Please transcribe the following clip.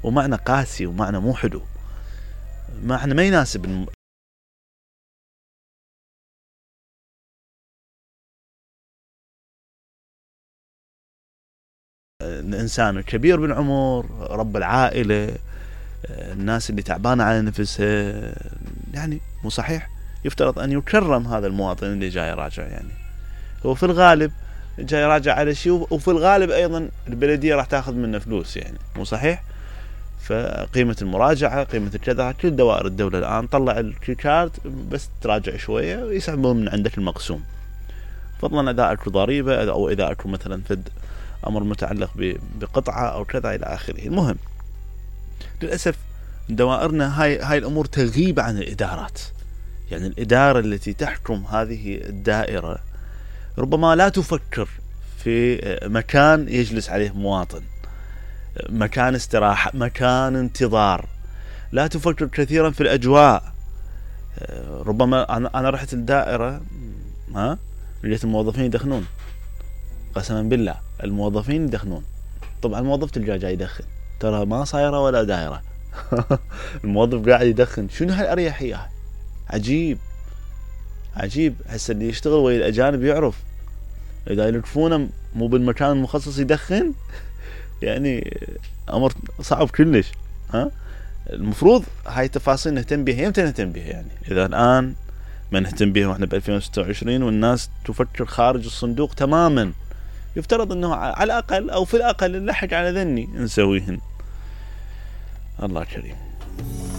ومعنى قاسي ومعنى مو حلو، معنى ما يناسب الإنسان الكبير بالعمر، رب العائلة، الناس اللي تعبانة على نفسها، يعني مو صحيح؟ يفترض أن يكرم هذا المواطن اللي جاي راجع. يعني هو في الغالب جاي راجع على شيء، وفي الغالب أيضا البلدية راح تاخذ منه فلوس، يعني مو صحيح؟ فقيمة المراجعة، قيمة الكذا، كل دوائر الدولة الآن طلع الكارت بس تراجع شوية ويسحبون من عندك المقسوم، فضلا إذا أكو ضريبة أو إذا أكو مثلا فد أمر متعلق بقطعة أو كذا إلى آخره. المهم للأسف دوائرنا هاي الأمور تغيب عن الإدارات. يعني الإدارة التي تحكم هذه الدائرة ربما لا تفكر في مكان يجلس عليه مواطن، مكان استراحة، مكان انتظار، لا تفكر كثيرا في الأجواء. ربما أنا رحت الدائرة لقيت الموظفين يدخنون، قسما بالله الموظفين يدخنون. طبعا الموظف تلقاه جاي يدخن، ترى ما صايرة ولا دائرة الموظف قاعد يدخن. شنو هالأريحية؟ عجيب عجيب. هسه اللي يشتغل ويا الأجانب يعرف إذا يلقفونه مو بالمكان المخصص يدخن يعني أمر صعب كلش. المفروض هاي التفاصيل نهتم بها. يمتى نهتم بها؟ يعني إذا الآن ما نهتم بها وإحنا ب2026 والناس تفكر خارج الصندوق تماما، يفترض أنه على الأقل أو في الأقل نلحق على ذني نسويهن. الله كريم.